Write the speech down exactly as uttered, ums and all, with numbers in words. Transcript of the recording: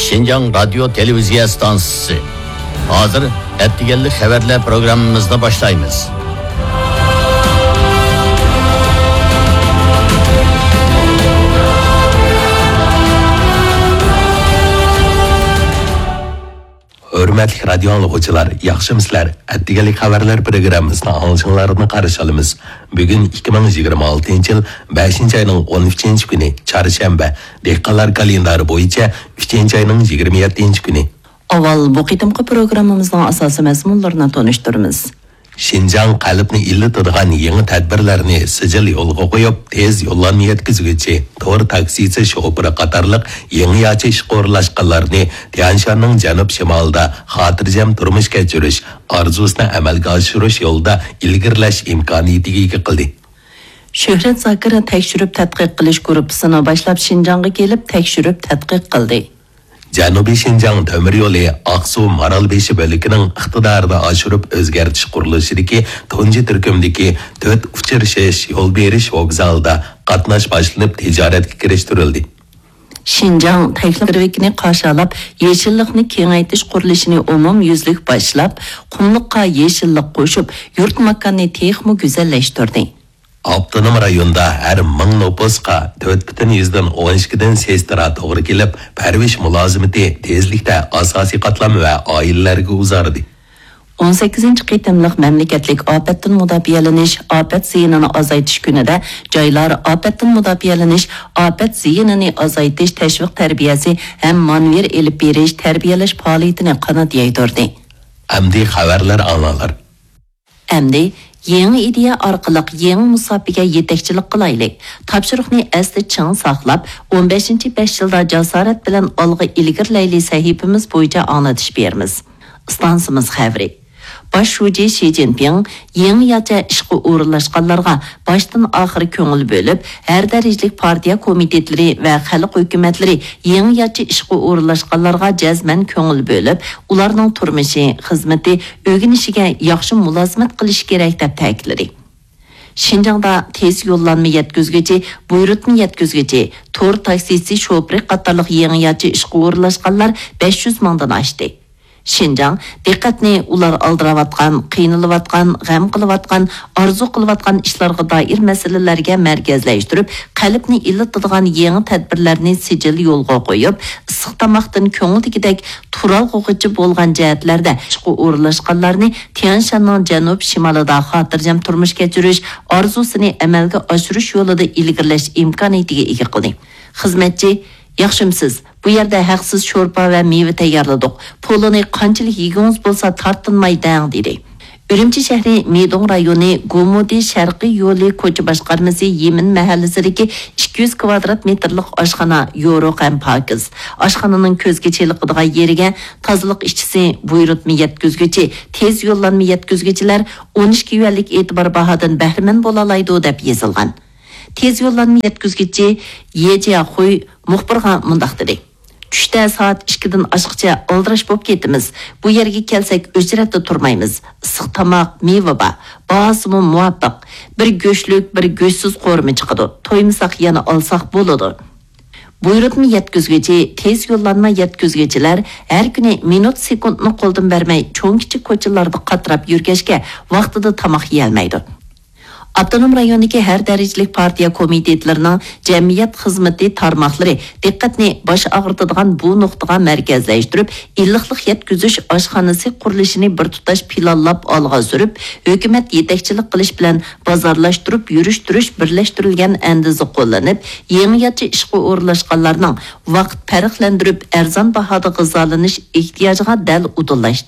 شىنجاڭ رادىيو تېلېۋىزىيە ئىستانسىسى. ھازىر ئەتىگەنلىك خەۋەرلەر پروگراممىمىزنى باشلايمىز. ھۆرمەتلىك رادىيو ئاڭلىغۇچىلار، ياخشىمۇسىلەر؟ ئەتىگەنلىك خەۋەرلەر پروگراممىسىنى ئاڭلىشىڭلارنى قارشى ئالىمىز. بۈگۈن ئىككى مىڭ يىگىرمە ئالتىنچى يىل بەشىنچى ئاينىڭ ئون ئۈچىنچى كۈنى، چارشەنبە، دېھقانلار كالېندارى بويىچە ئۈچىنچى ئاينىڭ يىگىرمە يەتتىنچى كۈنى. ئاۋۋال بۇ قېتىمقى پروگراممىمىزنىڭ ئاساسىي مەزمۇنلىرىنى تونۇشتۇرىمىز. شىنجاڭ قەلبنى ئىللىتىدىغان يېڭى تەدبىرلەرنى سىجىل يولغا قويۇپ، تېز يوللانما يەتكۈزگۈچى، تور تاكسىسى شوپۇرى قاتارلىق يېڭىچە ئىشقا ئورۇنلاشقانلارنى تيەنشاننىڭ جەنۇب شىمالىدا خاتىرجەم تۇرمۇش كەچۈرۈش ئارزۇسىنى ئەمەلگە ئاشۇرۇش يولىدا ئىلگىرىلەش ئىمكانىيىتىگە ئىگە قىلدى. شۆھرەت زاكىر تەكشۈرۈپ تەتقىق قىلىش گۇرۇپپىسىنى باشلاپ، شىنجاڭغا كېلىپ تەكشۈرۈپ تەتقىق قىلدى. جەنۇبىي شىنجاڭ تۆمۈر يولى ئاقسۇ مارالبېشى بۆلىكىنىڭ ئىقتىدارىنى ئاشۇرۇپ ئۆزگەرتىش قۇرۇلۇشىدىكى تۇنجى تۈركۈمدىكى تۆت ئۇچرىشىش يول بېرىش ۋوگزالىدا قاتناش باشلىنىپ، تىجارەتكە كىرىشتۈرۈلدى. شىنجاڭ تەكلىماكىنى قاشالاپ، يېشىللىقنى كېڭەيتىش قۇرۇلۇشىنى ئومۇميۈزلۈك باشلاپ، قۇملۇققا يېشىللىق قوشۇپ، يۇرت ماكاننى تېخىمۇ گۈزەللەشتۈردى. ئاپتونوم رايوندا ھەر مىڭ نوپۇسقا تۆت پۈتۈن يۈزدىن ئون ئىككىدىن سېسترا توغرا كېلىپ، پەرۋىش مۇلازىمىتى تېزلىكتە ئاساسىي قاتلام ۋە ئائىلىلەرگە ئۇزاردى. ئون سەككىزىنچى قېتىملىق مەملىكەتلىك ئاپەتتىن مۇداپىئەلىنىش، ئاپەت زىيىنىنى ئازايتىش كۈنىدە جايلار ئاپەتتىن مۇداپىئەلىنىش، ئاپەت زىيىنىنى ئازايتىش تەشۋىق تەربىيەسى ھەم مانېۋىر ئېلىپ بېرىش، تەربىيەلەش پائالىيىتىنى قانات يايدۇردى. ئەمدى خەۋەرلەر ئاڭلاڭلار. ئەمدى يېڭى ئىدىيە ئارقىلىق يېڭى مۇساپىگە يېتەكچىلىك قىلايلى. تاپشۇرۇقنى ئەستە چىڭ ساقلاپ، ئون بەشىنچى بەش يىلدا جاسارەت بىلەن ئالغا ئىلگىرىلەيلى سەھىپىمىز بويىچە ئاڭلىتىش بېرىمىز. ئىستانسىمىز خەۋىرى. باش شۇجى شى جىنپىڭ يېڭىچە ئىشقا ئورۇنلاشقانلارغا باشتىن ئاخىر كۆڭۈل بۆلۈپ، ھەر دەرىجىلىك پارتىيە كومىتېتلىرى ۋە خەلق ھۆكۈمەتلىرى يېڭىچە ئىشقا ئورۇنلاشقانلارغا جەزمەن كۆڭۈل بۆلۈپ، ئۇلارنىڭ تۇرمۇشى، خىزمىتى، ئۆگىنىشىگە ياخشى مۇلازىمەت قىلىشى كېرەك، دەپ تەكىتلىدى. شىنجاڭدا تېز يوللانما يەتكۈزگۈچى، بۇيرۇتما يەتكۈزگۈچى، تور تاكسىسى شوپۇرى قاتارلىق يېڭىچە ئىشقا ئورۇنلاشقانلار بەش يۈز مىڭدىن ئاشتى. شىنجاڭ دىققەتنى ئۇلار ئالدىراۋاتقان، قىينىلىۋاتقان، غەم قىلىۋاتقان، ئارزۇ قىلىۋاتقان ئىشلارغا دائىر مەسىلىلەرگە مەركەزلەشتۈرۈپ، قەلبنى ئىللىتىدىغان يېڭى تەدبىرلەرنى سىجىل يولغا قويۇپ، ئىسسىق تاماقتىن كۆڭۈلدىكىدەك تۇرالغۇغىچە بولغان جەھەتلەردە ئىشقا ئورۇنلاشقانلارنى تيەنشاننىڭ جەنۇب شىمالىدا خاتىرجەم تۇرمۇش كەچۈرۈش ئارزۇسىنى ئەمەلگە ئاشۇرۇش يولىدا ئىلگىرىلەش ئىمكانىيىتىگە ئىگە قىلدى. خىزمەتچى، ياخشىمۇسىز؟ بۇ يەردە ھەقسىز شورپا ۋە مېۋە تەييارلىدۇق. پولۇنى قانچىلىك يېگۈڭىز بولسا تارتىنماي دەڭ، دېدى. ئۈرۈمچى شەھىرى مىدوڭ رايونى گومۇدى شەرقىي يولى كوچا باشقارمىسى يىمىن مەھەللىسىدىكى ئىككى يۈز كۋادرات مېتىرلىق ئاشخانا يورۇق ھەم پاكىز. ئاشخانىنىڭ كۆزگە چېلىقىدىغان يېرىگە تازىلىق ئىشچىسى، بۇيرۇتما يەتكۈزگۈچى، تېز يوللانما يەتكۈزگۈچىلەر ئون ئىككى يۈەنلىك ئېتىبار باھادىن بەھرىمەن بولالايدۇ، دەپ يېزىلغان. تېز يوللانما يەتكۈزگۈچى يې جياخۇي مۇخبىرغا مۇنداق دېدى: چۈشتە سائەت ئىككىدىن ئاشقىچە ئالدىراش بولۇپ كېتىمىز. بۇ يەرگە كەلسەك ئۆچرەتتە تۇرمايمىز. ئىسسىق تاماق، مېۋە بار. باھاسىمۇ مۇۋاپىق. بىر گۆشلۈك، بىر گۆشسىز قورۇما چىقىدۇ. تويمىساق يەنە ئالساق بولىدۇ. بۇيرۇتما يەتكۈزگۈچى، تېز يوللانما يەتكۈزگۈچىلەر ھەر كۈنى مىنۇت سېكۇنتنى قولدىن بەرمەي، چوڭ-كىچىك كوچىلاردا قاتراپ يۈرگەچكە، ۋاقتىدا تاماق يېيەلمەيدۇ. ئاپتونوم رايوندىكى ھەر دەرىجىلىك پارتىيە كومىتېتلىرىنىڭ جەمئىيەت خىزمىتى تارماقلىرى دىققەتنى باش ئاغرىتىدىغان بۇ نۇقتىغا مەركەزلەشتۈرۈپ، ئىللىقلىق يەتكۈزۈش ئاشخانىسى قۇرۇلۇشىنى بىر تۇتاش پىلانلاپ ئالغا سۈرۈپ، ھۆكۈمەت يېتەكچىلىك قىلىش بىلەن بازارلاشتۇرۇپ يۈرۈشتۈرۈش بىرلەشتۈرۈلگەن ئەندىزە قوللىنىپ، يېڭىچە ئىشقا ئورۇنلاشقانلارنىڭ ۋاقىت پەرقلەندۈرۈپ ئەرزان باھادا غىزالىنىش ئېھتىياجىغا دەل ئۇدۇللاشتى.